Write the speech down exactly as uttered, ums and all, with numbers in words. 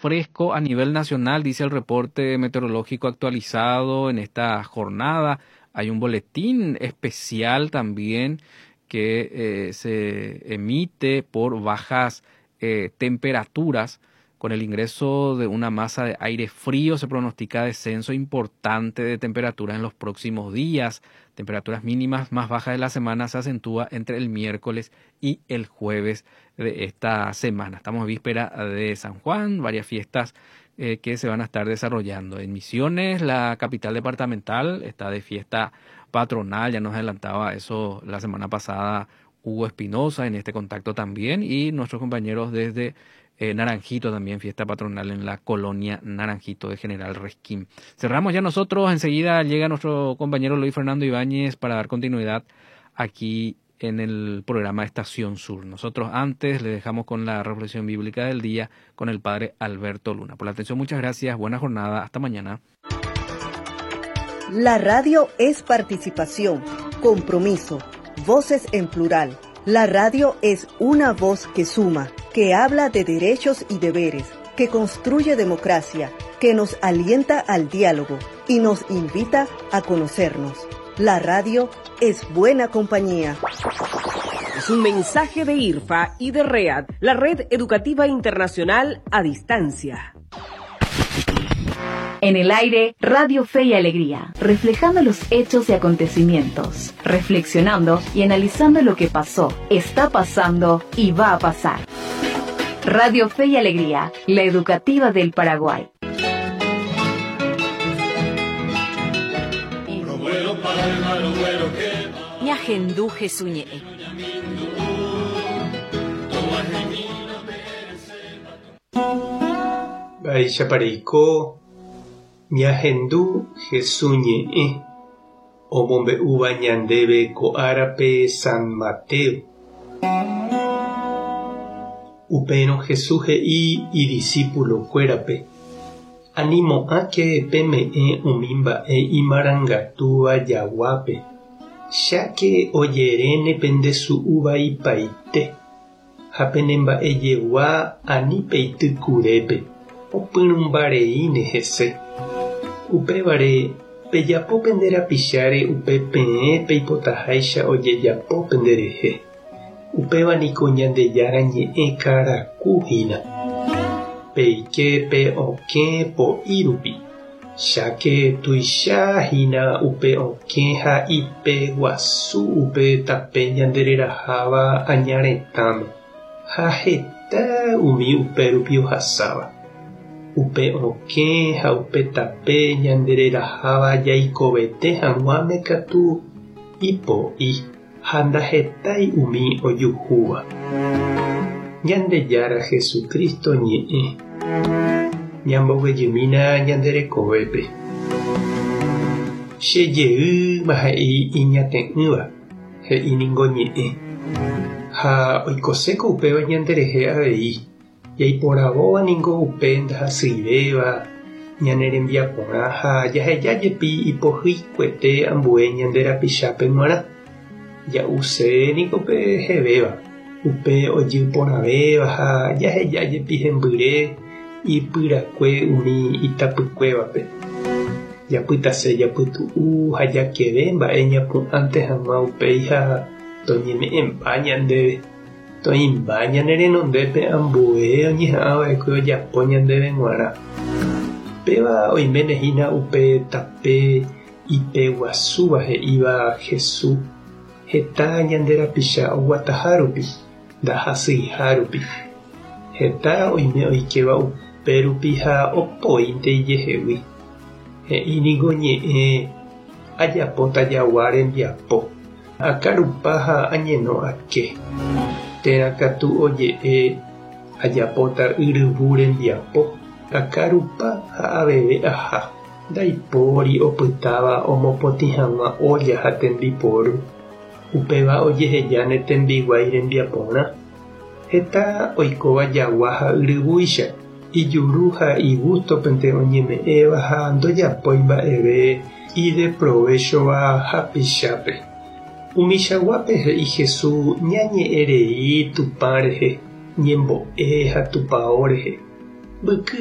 Fresco a nivel nacional, dice el reporte meteorológico actualizado en esta jornada. Hay un boletín especial también que eh, se emite por bajas eh, temperaturas. Con el ingreso de una masa de aire frío se pronostica descenso importante de temperaturas en los próximos días. Temperaturas mínimas más bajas de la semana se acentúa entre el miércoles y el jueves de esta semana. Estamos víspera de San Juan, varias fiestas eh, que se van a estar desarrollando. En Misiones, la capital departamental, está de fiesta patronal, ya nos adelantaba eso la semana pasada Hugo Espinosa en este contacto también, y nuestros compañeros desde eh, Naranjito también, fiesta patronal en la colonia Naranjito de General Resquín. Cerramos ya nosotros, enseguida llega nuestro compañero Luis Fernando Ibáñez para dar continuidad aquí en el programa Estación Sur. Nosotros antes le dejamos con la reflexión bíblica del día con el padre Alberto Luna. Por la atención, muchas gracias, buena jornada, hasta mañana. La radio es participación, compromiso, voces en plural. La radio es una voz que suma, que habla de derechos y deberes, que construye democracia, que nos alienta al diálogo y nos invita a conocernos. La radio es buena compañía. Es un mensaje de IRFA y de READ, la Red Educativa Internacional a Distancia. En el aire, Radio Fe y Alegría, reflejando los hechos y acontecimientos, reflexionando y analizando lo que pasó, está pasando y va a pasar. Radio Fe y Alegría, la educativa del Paraguay. Ñahendú Jesús ñe'ẽ. Mba'éichapa reiko ñahendu Jesús ñe'ẽ omombe'úva ñandéve ko árape San Mateo. Upérõ Jesús he'i idiscipulokuérape: Animo'ãke peme'ẽ umi mba'e imarangatúva jaguápe, cháke ojeréne pendesu'uvaipaite, ha penemba'ejegua ani peity kurépe, opyrũmbareíne hese. Upévare pejapo pende rapicháre upe peẽ peipotaháicha ojejapo penderehe. Upéva niko Ñandejára ñe'ẽ karaku hína. Peike pe okẽ po'i rupi, cháke tuicha hína upe okẽ ha ipeguasu upe tape ñandereraháva añaretãme, ha heta umi upérupi ohasáva. Upe okẽ ha upe tape ñandereraháva jaikovete hag̃uáme katu ipo'i ha ndahetái umi ojuhúva. Ñandejára Jesucristo ñe'ẽ. Ñamboguejymína ñande rekovépe. Chejeýma he'i iñate'ỹva, he'i ningo ñe'ẽ. Ha oikoséko upéva ñanderehe avei. Jaiporavóva ningo upe ndahasyivéva, ñane rembiaporã ha jaheja jepi ipohyikuete ambue ñande rapichápe g̃uarã. Ja'use niko pe hevéva, upe ojyporãvéva ha jaheja jepi hembyre ipyrakue umi itapykuévape. Japytase japytu'u ha jakeve mba'e ñapu'ãnte hag̃ua upéi ha toñeme'ẽmba ñandéve. Toĩmba ñane renondépe ambue oñeha'ãva'ekue ojapo ñandéve g̃uarã. Péva oiméne hína upe tape ipeguasúva he'íva Jesús heta ñande rapicha oguatahárupi, ndahasyihárupi. Heta oime oikéva upérupi ha opoínte ijehegui. He'i niko ñe'ẽ ajapóta jagua rembiapo, akarupa ha añeno ake. Térã katu oje'e ajapóta yryvu rembiapo, akarupa ha aveve aha. Ndaipóri opytáva omopotĩ hag̃ua olla ha tembiporu. Upéva ojehejáne tembiguái rembiaporã. Heta oikóva jagua ha yryvúicha, ijuru ha igústopente oñeme'ẽva ha ndojapói mba'eve ideprovéchova hapichápe. Umichaguápe he'i Jesús ñañe'ẽrei Tupã rehe, ñembo'e ha tupão rehe. Mbyky.